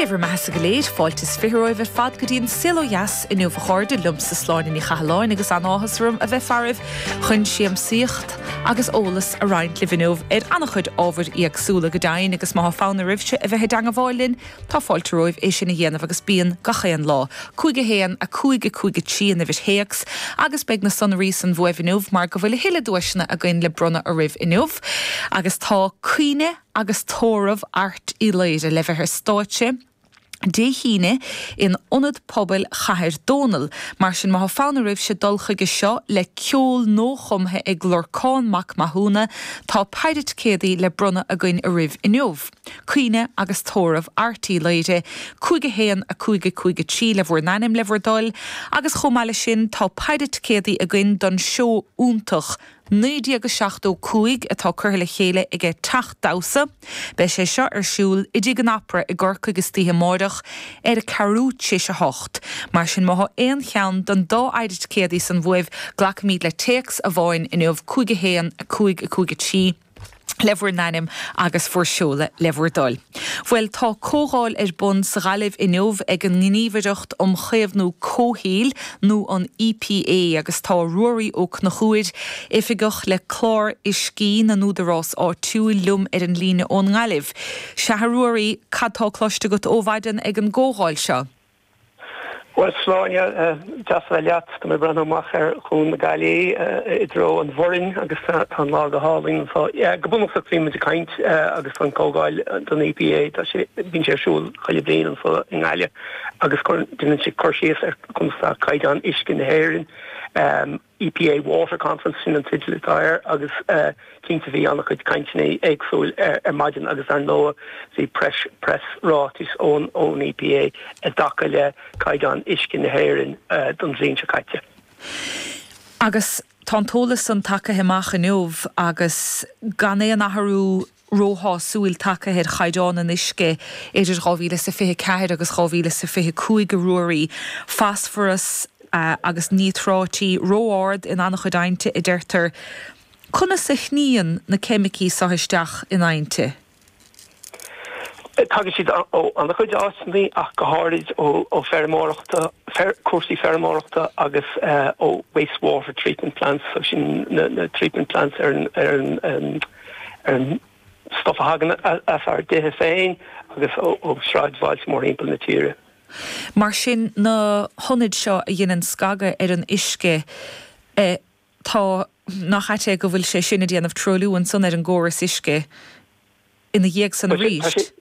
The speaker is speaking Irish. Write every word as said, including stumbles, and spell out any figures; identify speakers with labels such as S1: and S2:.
S1: bhur mbeathasa go léir fáilte is fiche romhaibh ar fad go dtí an Saol Ó Dheas inniu a chairde liomsa Sláine Ní Chathalláin agus an-áthas orm a bheith faraibh chun siamsaíocht agus eolas a roinnt libh inniu ar an-chuid ábhair éagsúla go deimhin agus má tá fonn oraibhse a bheith i dteagmháil linn tá fáilte romhaibh é sin a dhéanamh agus bíonn gach aon lá. Cúig a haon a cúig a cúig a trí an uimhir théacs agus beidh na sonraí san uaibh inniu mar go bhfuil a thuilleadh duaiseanna againn le bronnadh oraibh inniu agus tá Caoineadh agus Tórramh Airt Uí Laoire le bheith ar stáitse. Dé hAoine in Ionad Pobail Chathair Dónall, mar sin má tá fonn oraibhse dul chuige seo le ceol nuachumtha ag Lorcán Mac Mathúna, tá péire ticéadaí le bronnadh againn oraibh inniu. Caoineadh agus Tórramh Airt Uí Laoire, cúig a haon a cúig a cúig a trí le bhur n-ainm le bhur dtoil, agus chomh maith leis sin tá péire ticéadaí againn don seó iontach naoi déag a seachtó cúig atá curtha le chéile aige Teach Damhsa. Beidh sé seo ar siúl i dTigh an Opera i gCorcaigh istoíche amárach ar a ceathrú tar éis a hocht. Mar sin má tá aon cheann den dá phéire ticéadaí san uaibh, glacfaimid le téacs amháin inniu cúig a haon a cúig a cúig a trí. le bhur n-ainm agus bhur seoladh le bhur dtoil. Bhuel tá comhdháil ar bun sa Ghaillimh inniu ag an nGníomhaireacht um Chaomhnú Comhshaoil nó an EPA agus tá Ruairí Ó Conchúir oifigeach le clár uiscí na n-údarás áitiúil liom ar an líne ón nGaillimh. Sea a Ruairí cad tá cloiste agat ó mhaidin ag an gcomhdháil seo.
S2: Well Sláine deas a bheith leat tá mé ag breathnú amach ar Chuan na Gaillimhe i dtreo an Bhoirinn agus tá an lá go hálainn so go bunúsach bhí muid ag caint agus an comhdháil don EPA tá sé bíonn sé ar siúl chuile bhliain anseo i nGaillimh agus déanann sé cur síos ar conas tá caighdeán uisce na hÉireann. Um, EPA Water Conference sin an teideal atá air agus uh, cinnte bhí an-chuid cainteanna éagsúil ar, ar maidin agus ar ndóigh bhí press press ráiteas ón ón EPA i dtaca le caighdeán uisce na hÉireann uh, don bhliain seo caite.
S1: Agus tá an t-eolas san tagtha amach inniu agus gan aon athrú róshásúil tagtha ar chaighdeán an uisce idir dhá mhíle is a fiche ceathair agus dhá mhíle is a fiche cúig a Ruairí, fosfaras uh, agus níotráití ró-ard in an-chuid aibhnte a deirtear. Conas a shníonn na ceimicí seo isteach in aibhnte?
S2: Tagann siad ó an-chuid áiteanna ach go háirid ó ó feirmeoireachta fer, cúrsaí feirmeoireachta agus uh, ó wastewater treatment plants so sin na, na treatment plants ar an ar an um, ar an stuff a thagann as ár dtithe féin agus ó, ó sráidbhailte mórthimpeall na tíre.
S1: Mar sin na hionaid seo a dhéanann scagadh ar an uisce eh, tá nach ait é go bhfuil sé sin ag déanamh truailliú ansan ar an gcóras uisce ina dhiaidh san arís.